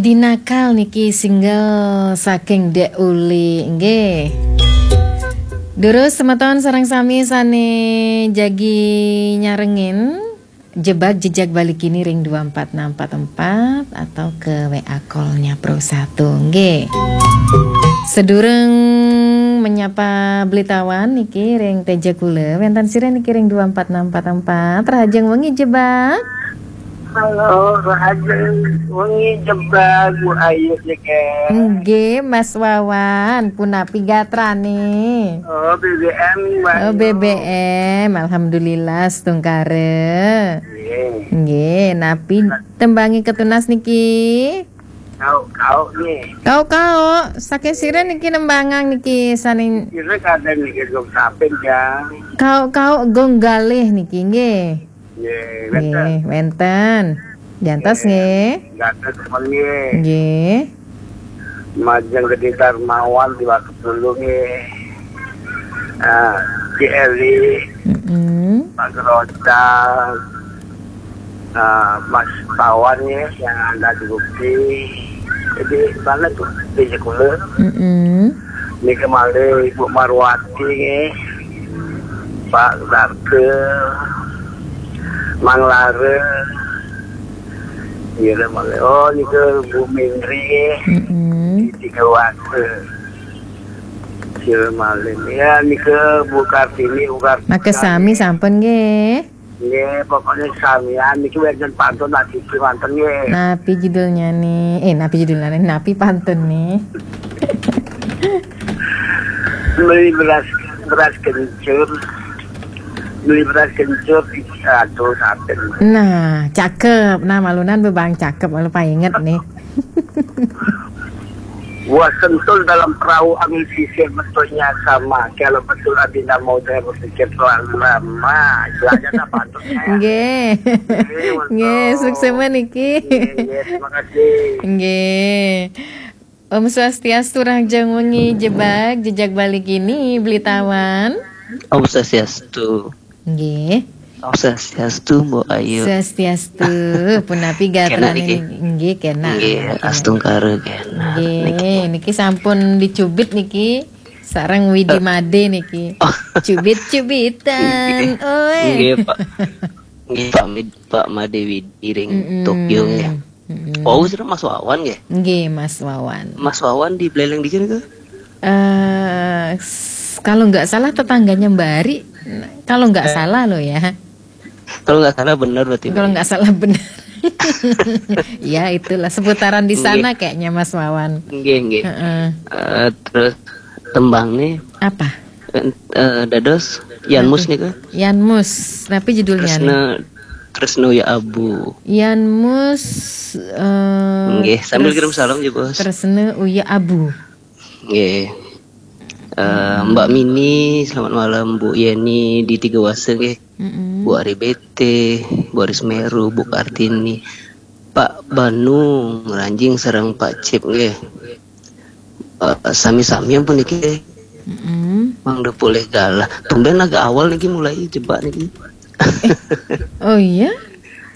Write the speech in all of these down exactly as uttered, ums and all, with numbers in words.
Dinakal niki single saking Dek Uli, nggih. Durus semeton sareng sami sane jagi nyarengin Jebak Jejak Bali Kini ring dua empat enam empat empat atau ke W A call-nya Pro satu, nggih. Sedurung menyapa Blitawan niki ring teja kula, wenten sira niki ring dua empat enam empat empat. Rahajeng wengi Jebak. Halo, Rahayu wengi Jebak, Bu Ayu niki. Nggih, Mas Wawan, punapi gatrane? Oh, B B M, Mbak Oh, Ayu. B B M, alhamdulillah, setungkare. Nggih. Nggih, napi tembange ketunas niki? Kau, kau nih. Kau, kau, saking sira niki nembangang niki saning Kira kadang niki gong sapin ya. Kau, kau, gong galih niki, nggih. Nggih, wenten. Nggih, wenten. Jantos nggih. Jantos nggih. Nggih. Majeng Gede Darmawan di waktu dulu nggih. Ah, Ci Eli, Mm-mm. Pak Geroca, ah, Mas Pawan nggih yang ada di Bukti. Jadi, mana tuh? Di Jekule. Mm-mm. Niki malih Ibu Marwati nggih. Pak Darke, Mang Lara. Nggih, malih. Oh, niki Bu Mindri nggih. Mm-mm. Di Tiga Wase. Nggih, malih. Ya, niki Bu Kartini, Bu Kartini. Makasami sampun nggih. Nggih, pokoknya samian niki wenten pantun lagi manten nggih. Napi judulnya nih? Eh, napi judulnya nih? Napi pantun nih? Beli beras, beras kencur. Beli beras kencur, aduh, saten. Nah, cakep. Nah, malunan bebang cakep, malu painget nih. Gua sentul dalam perahu angin sisir, betulnya sama. Kalau betul Adinda mau saya berpikir terlalu lama. Istilahnya apa tuh? Nggih. Nggih, betul. Nggih, suksema niki. Nggih, nggih, terima kasih. Nggih. Om Swastiastu, rahajeng wengi Jebak, Jejak Bali Kini, Blitawan. Om Swastiastu. Nggih. Om Swastiastu, Mbok Ayu. Swastiastu. Punapi gatrane niki? Nggih, kena. Nggih, astungkara kena. Nggih, niki sampun dicubit niki. Sareng Widi Made niki. Oh. Cubit-cubitan. Nggih. Oe. Nggih, Pak. Nggih, Pak Mid-, Pak Made Widi ring Tokyo nggih. Mm-mm. Oh, sudah Mas Wawan nggih? Nggih, Mas Wawan. Mas Wawan di Buleleng dikit ke? Eh, s-, kalau nggak salah tetangganya Mbak Ari, kalau nggak salah loh ya. Kalau nggak salah bener berarti. Kalau nggak salah bener. Ya, itulah seputaran di sana kayaknya, Mas Wawan. Nggih, nggih. Heeh. Eh, terus tembang nih. Apa? Eh, dados Yanmus nih, Kak. Yanmus. Tapi judulnya nih? Tresno, Tresno ya Abu. Yanmus, eh, nggih, sambil kirim salam juga, Bos. Tresno Uya Abu. Nggih. Eh, Mbak Mini, selamat malam. Bu Yeni di Tiga Wase nggih. Mm-mm. Bu Ari B T, Bu Ari Semeru, Bu Kartini, Pak Banu Ngranjing sareng Pak Cip nggih. Eh, sami-sami ampun niki. Mm-mm. Mangda polih galah. Tumben agak awal niki mulai Jebak niki. Oh iya?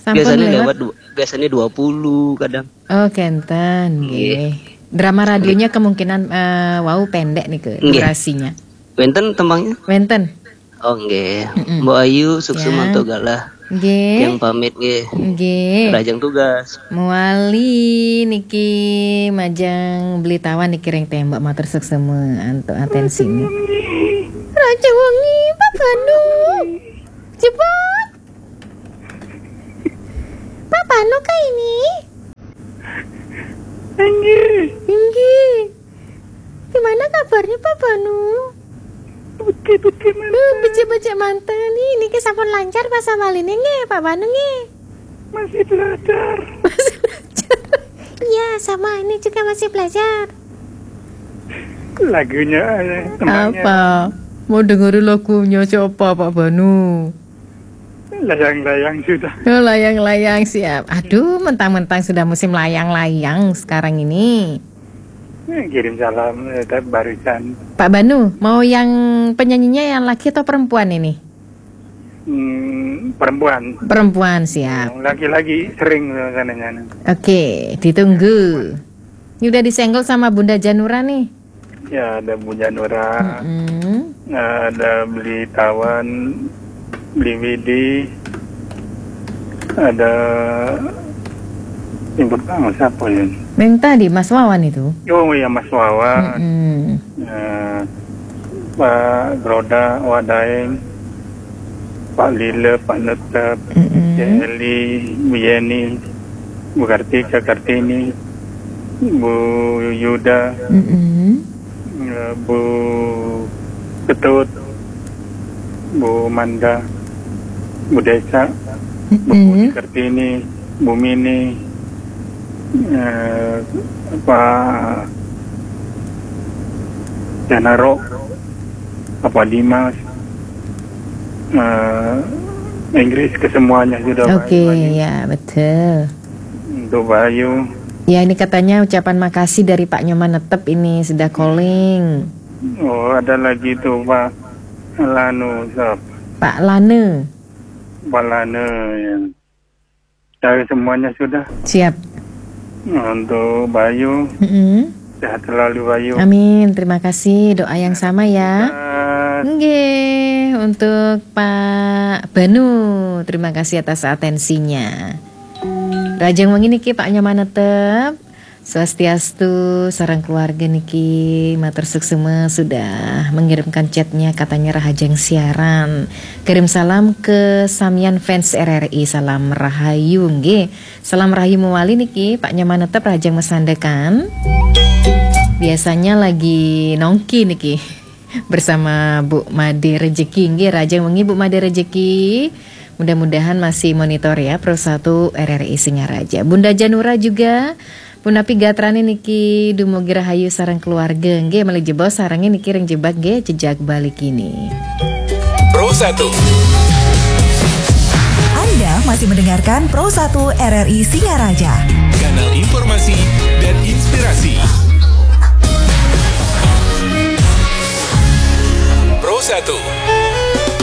Sampun biasanya lewat? Lewat du-, biasanya dua puluh kadang. Oh, kenten, nggih. Nggih. Drama radionya kemungkinan, eh, wau pendek nih ke durasinya. Wenten tembangnya? Wenten. Oh, nggih. Mm-mm. Mbok Ayu, sukses mantuk galah. Nggih. Yang pamit nggih. Nggih. Rahajeng tugas. Muali niki majeng Blitawan niki ring tembak, matur suksema antuk atensine. Raja wengi, Pak Banu. Jebak. Pak Banu kah ini? Inggih. Inggih. Gimana kabarnya, Pak Banu? Becik-becik manten. Becik-becik manten. Nih, niki sampun lancar basa Baline nggih, Pak Banu nggih? Masih belajar. Masih belajar. Iya, sama ini juga masih belajar. Lagunya, eh, tembangnya. Apa? Mau dengerin lagunya siapa, Pak Banu? Layang-layang sudah. Oh, layang-layang siap. Aduh, mentang-mentang sudah musim layang-layang sekarang ini. Eh, kirim salam, eh, tadi barusan. Pak Banu, mau yang penyanyinya yang laki atau perempuan ini? Hmm, Perempuan. Perempuan, siap. Yang laki-laki sering katanya. Oke, ditunggu. Ini udah disenggol sama Bunda Janura nih. Ya, ada Bu Janura, Mm-mm. Ada Beli Tawan, Beli Widi, ada yang pertama siapa ya? Yang tadi Mas Wawan itu. Oh ya, Mas Wawan. Mm-mm. Eh, Pak Groda, Wadaeng, Pak Lila, Pak Netep, Mm-mm. Cik Eli, Bu Yeni, Bu Kartika, Kartini, Bu Yuda, Mm-mm. eh, Bu Ketut, Bu Manda, Bu Desa, Bu Mm-mm. Kartini, Bu Mini, eh, Pak Janaro, Pak Dimas, eh, Inggris, kesemuanya sudah. Oke, Pak Iwan. Ya, betul. Untuk Bayu. Ya, ini katanya ucapan makasih dari Pak Nyoman Netep ini sudah calling. Oh, ada lagi tuh Pak Lanu, siapa? Pak Lane. Pak Lane, ya. Dari semuanya sudah. Siap. Untuk Bayu, Mm-mm. Sehat selalu, Bayu. Amin. Terima kasih, doa yang sama ya. Sehat. Nggih, untuk Pak Banu, terima kasih atas atensinya. Rahajeng wengi niki Pak Nyoman Netep. Swastiastu, sareng keluarga niki matur suksma sudah mengirimkan chatnya, katanya rahajeng siaran. Kirim salam ke samian fans R R I, salam rahayu nggih. Salam rahayu mewali niki Pak Nyoman Netep, rahajeng masandekan. Biasanya lagi nongki niki bersama Bu Made Rejeki nggih, rahajeng wengi Bu Made Rejeki. Mudah-mudahan masih monitor ya Pro satu R R I Singaraja. Bunda Janura juga, punapi gatrane niki dumugi rahayu sareng keluarga nggih, malih jebos sarenge niki ring jebak nggih, jejak balik ini. Pro satu. Anda masih mendengarkan Pro satu R R I Singaraja. Kanal informasi dan inspirasi. Pro satu.